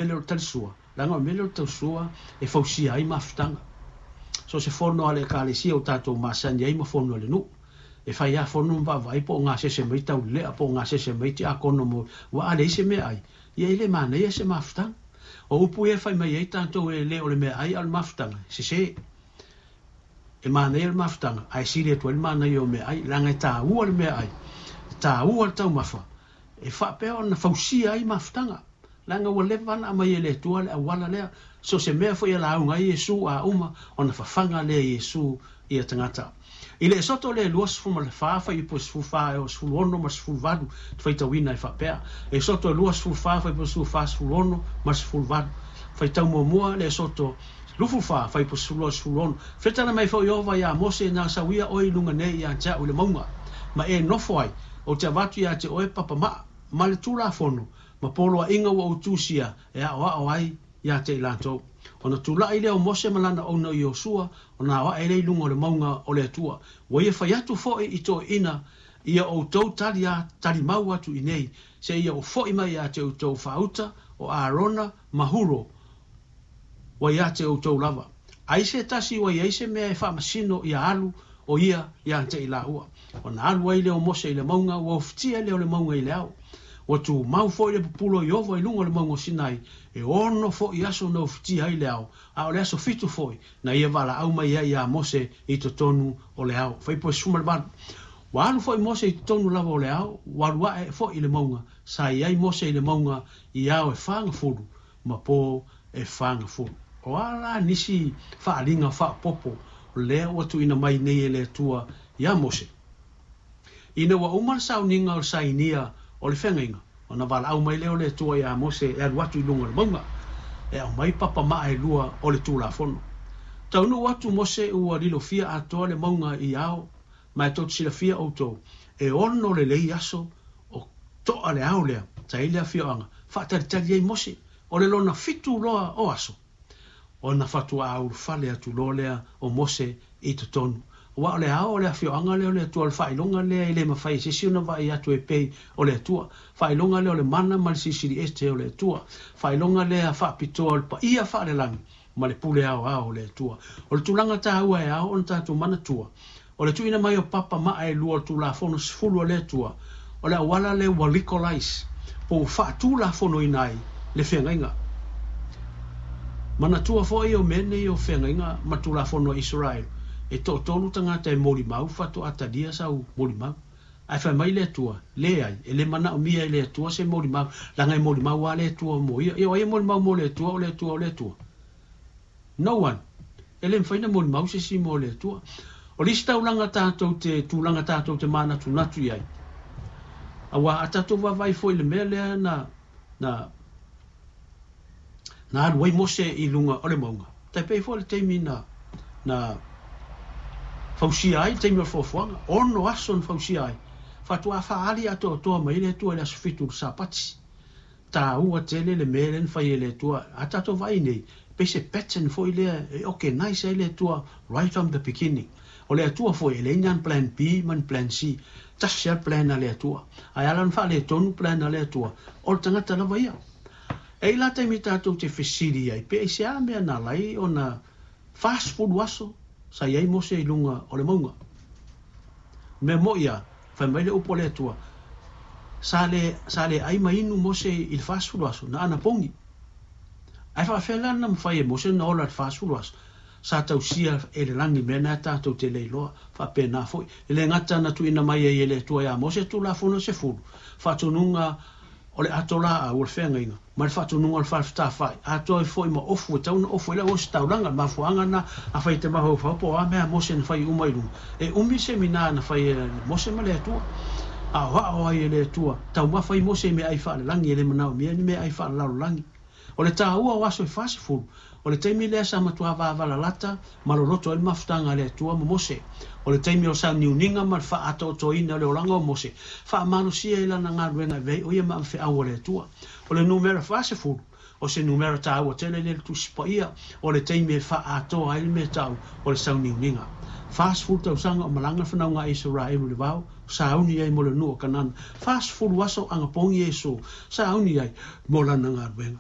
mea lea o le talisua? Leaga o le mea lea o le talisua e fausia ai mafutaga. So o se fono a le Ekalesia ua tatou masani ai ma fono a le nuu. E fai lava fono ma vaavaai po o gasese mai taulelea po o gasese mai tiakono mo ua a leai se meaai, ia e le manaia se mafutaga. O upu ia e fai mai ai tatou e le o le meaai a o le mafutaga, e sese. E manaia le mafutaga ae sili atu ai le manaia o meaai leaga e taua le meaai, e taua le taumafa e faapea ona fausia ai mafutaga. Leaga ua leva ona aumai e le Atua le auala lea, so o se mea foi e lauga ai Iesu a uma, ona fafaga lea e Iesu ia tagata. I le Esoto lea e 24 fuaiupu e 14 e oo 16 ma le 18 te faitauina e faapea, Esoto e 24 fuaiupu e 14, 16 ma le 18. Faitau muamua le Esoto 24 fuaiupu 12 16. Fetala mai foi Ieova iā Mose, Na sau ia oe i luga nei ia te au i le mauga, ma e nofo ai, ou te avatu ia te oe papa maa ma le tulafono ma poloaiga ua ou tusia e aoao ai ia te i latou. Ona tulai lea o Mose ma lana auauna Iosua, ona ao ae lea i luga o le mauga o le Atua. Ua ia fai atu foi i toeaiina ia outou tali a talimau atu i inei, seia ou foi mai ia te outou faauta o Arona ma Huro ua ia te outou lava. Ai se tasi ua i ai se mea e faamasino ia alu o ia ia te i laua. Ona alu ai lea o Mose i le mauga, ua ofitia lea o le mauga i le ao. Ua tumau foi le pupula o Ieova i luga o le mauga o Sinai, e 6 foi aso na ofitia ai le ao, a o le aso 7 foi na ia valaau mai ai iā Mose i totonu o le ao. Fuaiupu 18. Ua alu foi Mose i totonu lava o le ao, ua alu ae foi i le mauga, sa i ai Mose i le mauga i ao e 40 ma po e 40. O a la nisi faaaliga faaopoopo lea ua tuuina mai nei e le Atua iā Mose? Ina ua uma le sauniga o le sainia o le feagaiga, ona valaau mai lea o le Atua iā Mose e alu atu i luga o le mauga, e aumai papa maa e lua o le Tulafono. Taunuu atu Mose ua lilofia atoa le mauga i ao, ma e tou te silafia outou, e 6 lelei aso o toa le ao lea, sa i ai le afioaga, faatalitali ai Mose, o le lona 7 loa o aso, ona faatoa ulufale atu loa lea o Mose i totonu. Aua o le ao o le afioaga lea o le Atua, o le faailoga lea e le mafai e se isi ona vaai atu e pei o le Atua. Faailoga lea o le mana ma le silisili ese o le Atua. Faailoga lea faapitoa o le paia faalelagi ma le pule aoao o le Atua. O le tulaga taua e ao ona tatou manatua, o le tuuina mai o papa maa e lua o le Tulafono 10 a le Atua, o le auala lea ua legalize, po ua faatulafonoina ai le feagaiga. Manatua foi o mea nei o feagaiga ma Tulafono a Israel, e toatolu tagata e molimau faatoa talia sau molimau. Ae fai mai le Atua, leai, e le manaomia e le Atua se molimau, leaga e molimau lava le Atua mo ia. Ia o ai e molimau mo le Atua, o le Atua o le Atua. No one. E le mafai ona molimau se isi mo le Atua. O le isi taulaga tatou te, tulaga tatou te manatunatu i ai, aua a tatou vaavaai foi i le mea lea na, na, na alu ai Mose i luga o le mauga, tai pei foi o le taimi na, na fausia ai le taimi o le foafoaga, 6 aso na fausia ai, faatoa faaali atoatoa mai le Atua i le aso 7 o le Sapati. Taua tele le mea lea na fai e le Atua. A tatou vaai nei, pei se pattern foi lea e organize ai le Atua right from the beginning. O le Atua foi e leai ni plan B ma ni plan C. Tasi lava le plan a le Atua. Ae ala ona faaletonu plan a le Atua, o le tagata lava ia. E i la taimi tatou te fesili ai, pe aisea mea na ala ai ona 40 aso sa i ai Mose i luga o le mauga. Mea moi ia, fai mai le upu a le Atua, sa le, sa le ai ma inu Mose i le 40 aso, na anapogi. Ae faafefea la na mafai e Mose ona ola i le 40 aso? Sa tausia e le lagi mea na tatou te le iloa, faapena foi. E le gata na tuuina mai ai e le Atua iā Mose Tulafono 10, faatonuga o le ato laau o le feagaiga, ma le faatonuga o le fale fetāfa'i, atoa ai foi ma ofu e tatau ona ofu ai le auositaulaga. Le mafuaaga lena a fai te mafaufau po o a mea a Mose na fai uma i luga, e umi semina na fai e Mose ma le Atua. Aoao ai e le Atua, taumafa ai Mose i meaai faalelagi, e le manaomia ni meaai faalelalolagi. O le taua o aso e 40, o le taimi lea sa matua vavalalata ma loloto ai le mafutaga a le Atua ma Mose. O le taimi o le sauniuniga ma le faaatoatoaina o le olaga o Mose, faamalosia ai lana galuega e avea ai o ia ma avefeau a le Atua. O le numera 40, o se numera taua tele lea i le Tusi Paia, o le taimi e faaatoa ai le mea tau o le sauniuniga. 40 tausaga o malaga le fanauga a Isaraelu i le vao, sauni ai mo le nuu o Kanana. 40 aso anapogi Iesu, sauni ai mo lana galuega.